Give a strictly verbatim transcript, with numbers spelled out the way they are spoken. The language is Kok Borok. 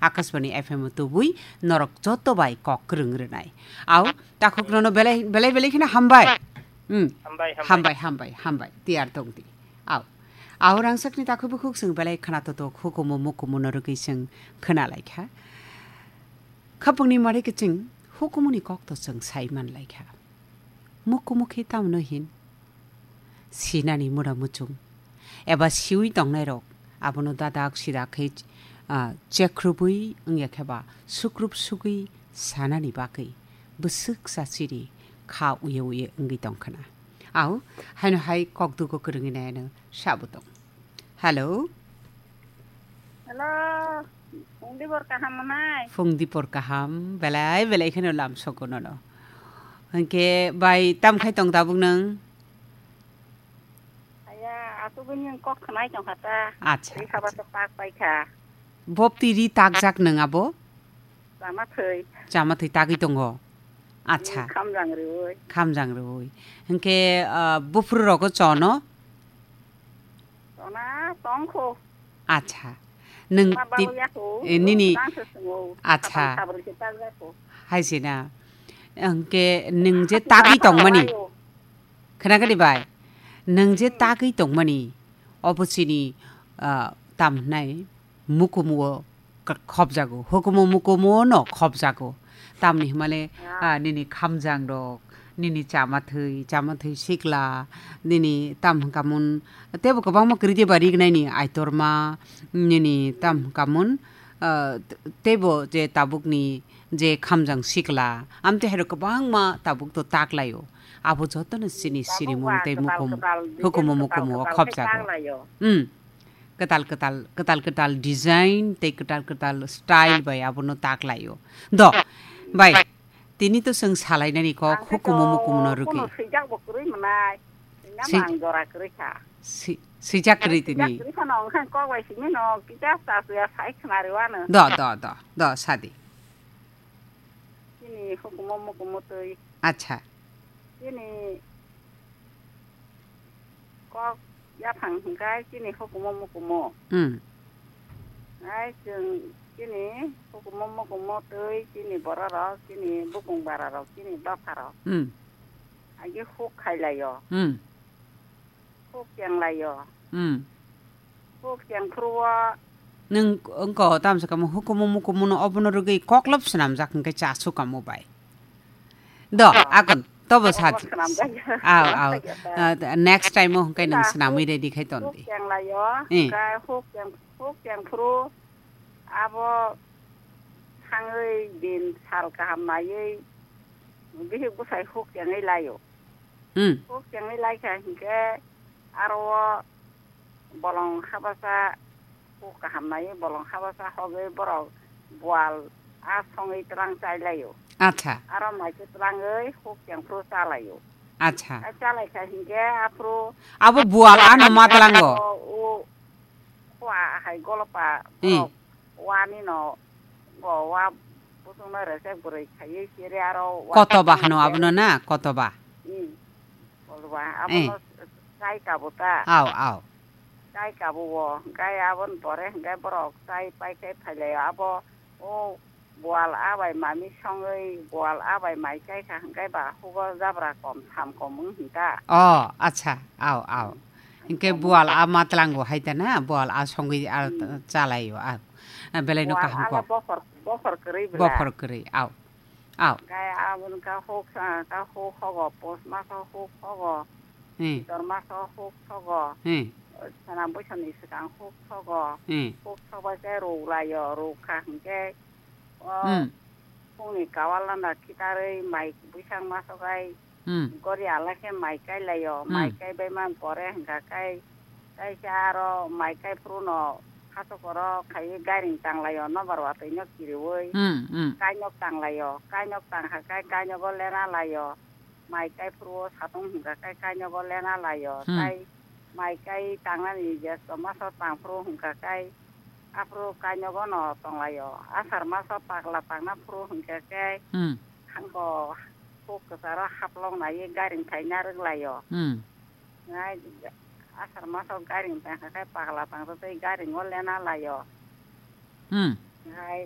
Akashbani F M o tubui norok joto bai kok kwrwng rwnai. Au, takhuk nono belai, belai, belai kheno hambai. Hmm. Hambai, hambai. Hambai, hambai, hambai. Tiyar tong di. Au. Au rangchakni takhuk bukhuk chwng belai khna totok hukumu mukumu no rwgwi chwng khna lai kha. Khapungni mari kiching hukumuni kok to chwng sai man lai kha. Mukumu khe tamno hin? Sinani mura muchung eba siwi tongnairok abono dadak sidak khe, ah, chekrubwi wngya khe ba sukrup sugwi sanani bagwi bwswk chachiri kha uye uye wngwi tong khna. Au, haino hai kokdugo kwrwngwi naiano sabo tong. Hello. Hello. Phung dibor kaham manai? Phung dibor kaham, belai belai kheno lam sogo nono. Hwnkhe bai tam khai tong tabuk nang? Aya, asugwi nini kok khwnai tong kha ta. Acha, ri khaba acha. To tak pai kha. Bopti ri takjak nang abo? Chama thwi. Chama thwi tagwi tongo. Acha. Hmm, khamjang rwi. Khamjang rwi. Hwnkhe, ah, buphuru rogo chono? Chona tongkho. Acha. Nwng ma ti-, babu yakho, eh, nini, tang se sungo. Acha. Khatam khabrwi se tak yakho. Hai se na. Hwnkhe nwng je tagwi tongmani. Khwnakadi bai? Nwng je tagwi tongmani, obo chini, ah, tam hwnai mukumu o k-, khopjago, hukumu mukumu no khopjago. Tamni hwnmale, ah, nini khamjang rok, nini chamathwi, chamathwi sikla, nini tam hwnkamon, teibo kwbangma kwrwi teiba rignaini aitorma, nini tam hwnkamon, ah, t-, teibo je tabukni je khamjang sikla, amtwi hairok kwbangma tabuk to taklaio. Abo jotono chini tabuk sirimung ba tei kwtal mukumu, kwtal hukumu design mukumu o kwtal kwtal khe khopjago. Taklaio. Hmm. Kwtal kwtal, kwtal kwtal design tei kwtal kwtal style bai abono taklaio. Do, bai, tini to chwng salainani kok ang khe hukumu to mukumu no rwgwi. Kuno swijak bo kwrwi mwnai. Swi-, Swijak ang jora kwrwi kha. Si-, swijak kwrwi tini. Swijak kwrwi khano wngkha kok bai simi no kisa cha chuya sai khna rwano. Do, do, do, do, sadi. Chini hukumu mukumu twi. Acha. Chini kok yaphang hwnkhe chini hukumu mukumu. Hmm. Ai chwng chini hukumu mukumu twi chini bororok, chini bukung bararok, chini dopharok. Hmm. Agi huk khailaio. Hmm. Huk chenglaio. Hmm. Huk chengphuru o. Nwng wngko tamsa kamo hukumu mukumu no obono rwgwi koklop swnamjak hwnkhe cha sukamo bai. Do, ah, akon, tobo obo sa. Swnamjak. Aw, aw. Swnamjak. Ah, next time o hwnkhe nwng swnamwi ready khai ton di. Huk chenglaio, eh, hwnkhe huk cheng, huk chengphuru abo thangwi din sal kaham naiwi bihik bwsai huk chengwi laio. Hmm. Huk chengwi laikha hinkhe aro o bolong habasa huk kaham nai, bolong habasa hogwi borok bual a songwi twlang chai laio. Acha. Aro mai khe twlangwi huk chengphuru cha laio. Acha. A cha laikha hinkhe aphuru abo bual ano ma tlango? O, o, khua hai golopa, eh, borok wani no, bo wa busungno resek bwrwi khaiwi siri aro wa kotoba hano abono na, kotoba. Hmm. Kotoba, eh, abono chai kabo ta. Aw, aw. Chai kabo o, hwnkhe aboni pore hwnkhe borok chai pai khe phailaio. Abo o bual a bai mami songwi, bual a bai mai chai kha hwnkhe ba hugo jabra kom, tham kom wng hwn ta. O, acha, aw, aw. Hwnkhe bual a ma tlango hai ta na, bual a songwi a, hmm, chalaio a. A, belai no bual kaham a ko. Bophor, bophor kwrwi bwla. Bophor kwrwi, aw. Aw. Hwnkhe aboni ka huk sa, ka huk hogo, pos maso huk hogo. Hmm. Pitor maso huk sogo. Hmm. Sana bwsani swkang huk sogo. Hmm. Huk sogbai khe rwlaio, rwkha hwnkhe o, hmm, phungni kawal landa khitarwi mai bwsang masogai, hmm, gori ala khe mai kailaio, hmm, mai kaibai man pore hwnkha kai, kaisa aro mai kai phuru no hachok oro khaiwi gairing tanglaio, nobar watwi no kiriwi, hmm, hmm, kainok tanglaio, kainok tangkha kai kainogo lena laio, mai kai phuru o satung hwnkha kai kainogo lena laio, hmm, tai mai kai tangnani jesto maso tang phuru hwnkha kai, aphuru kainogo no tonglaio. Asar maso pakla tangna phuru hwnkha khe, hmm, hango huk kwcharo haplok naiwi garing phaina rwglaio. Hmm. Nai asar maso garing tangkha khe pakla tangsa tei garingo lena laio. Hmm. Nai